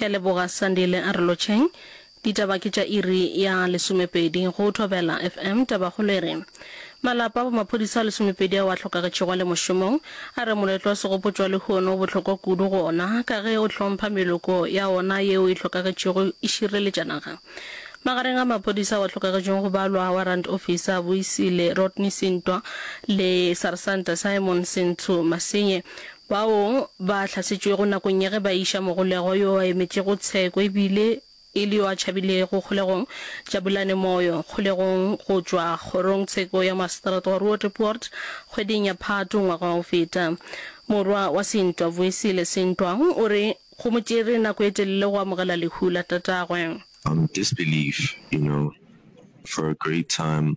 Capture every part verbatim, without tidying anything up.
Ke a leboga Sandile, a re lotšheng. Ditaba ke tša iri ya lesomepedi go Thobela F M. Tabakgolo e re, Malapa a bomaphodisa a lesomepedi ao a hlokagetšego a le mošomong a re moletlo wa segopotšo wa lehono o bohlokwa kudu go ona ka ge o hlompha meloko ya ona yeo e hlokagetšego e šireletša naga. Magareng a maphodisa ao a hlokagetšego go balwa Warrant Officer Vuyisile Rodney Sintwa le Sarsanta Simon Sentsho Masenye bao ba hlasetšwego nakong ya ge ba iša mogolegwa yo a emetšego tsheko ebile e le yo a tšhabilego kgolegong Jabulani Moyo kgolegong go tšwa kgorongtsheko ya maseterata wa Roodepoort kgweding ya Phato ngwaga wa go feta. Morwa wa Sintwa, Vuyisile Sintwa, o re go mo tšere nako e telele go amogela lehu la tatagwe. Um disbelief, you know, for a great time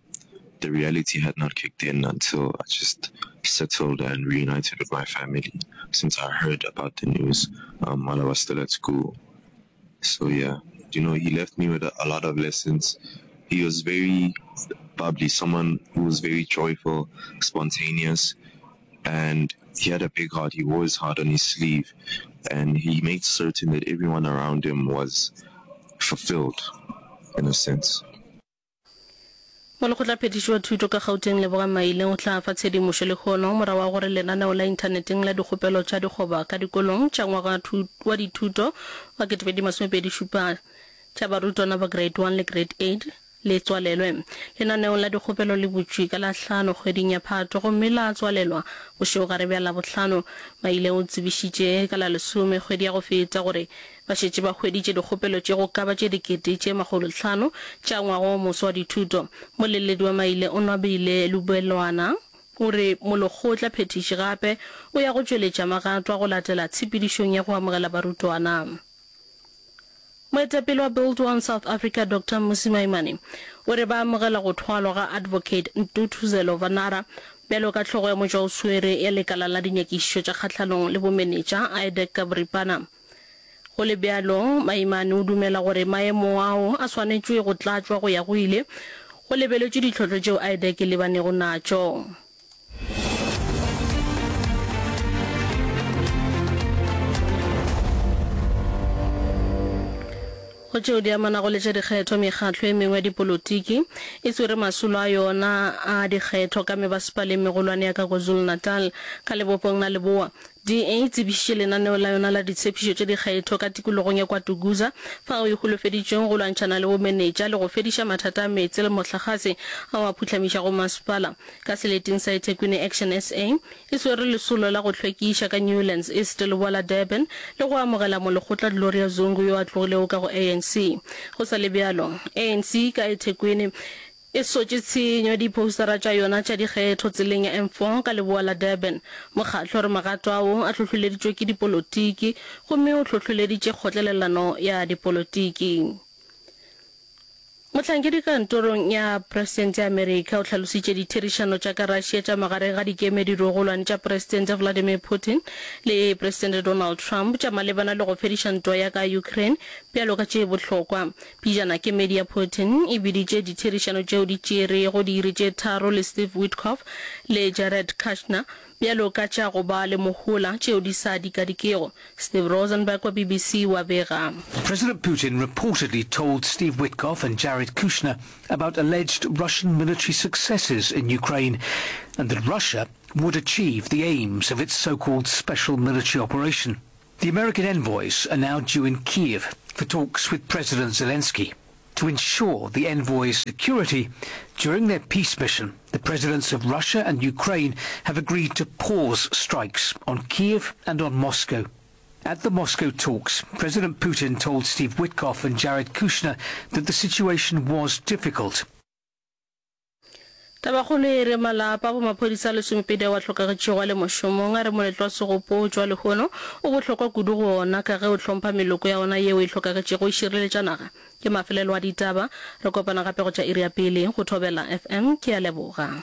the reality had not kicked in until I just settled and reunited with my family since I heard about the news um while I was still at school. So yeah, you know, he left me with a, a lot of lessons. He was very bubbly, someone who was very joyful, spontaneous, and he had a big heart. He wore his heart on his sleeve, and he made certain that everyone around him was fulfilled in a sense. Molekgotlaphethiši wa thuto ka Gauteng Lebogang Maile o tla fa tshedimošo lehono morago ga gore lenaneo la inthaneteng la dikgopelo tša dikgoba ka dikolong tša ngwaga wa dithuto wa ketepedi masomepedi šupa tša barutwana ba Grade one le Grade eight le tswalelwe. Lenaneo la dikgopelo le butšwe ka la hlano kgweding ya Phato gomme la tswalelwa bošegogare bja Labohlano. Maile o tsebišitše ka la lesome kgwedi ya go feta gore ba šetše ba hweditše dikgopelo tše go ka ba tše dikete tše makgolohlano tša ngwaga o moswa wa dithuto. Moleledi wa Maile Onwabile Lubelwana o re molekgotla phethiši gape o ya go tšweletša magato a go latela tshepedišong ya go amogela barutwana. Moetapele wa Build One South Africa Doctor Mmusi Maimane o re ba amogela go thwalwa ga Advocate Ntuthuzelo Vanara bjalo ka hlogo ya motšwaoswere ya lekala la dinyakišišo tša kgahlanong le bomenetša, IDAC ka boripana. Go le bjalo, Maimane o dumela gore maemo ao a swanetšwe go tlatšwa go ya go ile, go lebeletšwe ditlhohlo tšeo IDAC e lebanego natšo. Go tšeo di amanago le tša dikgetho, mekgatlo e mengwe ya dipolotiki e swere masolo a yona a dikgetho ka mebasepaleng megolwane ya ka KwaZulu-Natal ka lebopong la leboa. D A e tsebišitše lenaneo la yona la ditshepišo tša dikgetho ka tikologong ya KwaDukuza fao e holofeditšweng go lwantšhana le bomenetša le go fediša mathata a meetse le mohlagase ao a phuhlamišago masepala. Ka seleteng sa eThekwini Action S A e swere lesolo la go hlwekiša ka Newlands East leboa la Durban le go amogela molekgotla Gloria Zungu yo a tlogilego ka go A N C. Go sa le bjalo, A N C ka eThekwini e sotše tshenyo diphoustara tša yona tša dikgetho tseleng ya M four ka leboa la Durban. Mokgatlo o re magato ao a hlohleleditšwe ke dipolotiki gomme o hlohleleditše kgotlelelano ya dipolotiki. Mohlankedi kantorong ya Presidente ya Amerika o hlalositše ditherišano tša ka Russia tša magareng ga dikemedi dirogolwane tša Presidente Vladimir Putin le Presidente Donald Trump tša malebana le go fediša ntwa ya ka Ukraine bjalo ka tše bohlokwa. Pejana kemedi ya Putin e biditše ditherišano tšeo di tšerego diiri tše tharo le Steve Witkoff le Jared Kushner bjalo ka tša go ba le mohola tšeo di sa dikadikego. Steve Rosenberg wa B B C wa bega. President Putin reportedly told Steve Witkoff and Jared Kushner about alleged Russian military successes in Ukraine and that Russia would achieve the aims of its so-called special military operation. The American envoys are now due in Kiev for talks with President Zelensky. To ensure the envoys' security during their peace mission, the presidents of Russia and Ukraine have agreed to pause strikes on Kiev and on Moscow. At the Moscow talks, President Putin told Steve Witkoff and Jared Kushner that the situation was difficult. Tabakgolo e re malapa a bomaphodisa a lesomepedi ao a hlokagetšego a le mošomong a re moletlo wa segopotšo wa lehono o bohlokwa kudu go ona ka ge o hlompha meloko ya ona yeo e hlokagetšego e šireletša naga. Ke mafelelo a ditaba. Re kopana gape go tša iri ya pele go Thobela F M. Ke a leboga.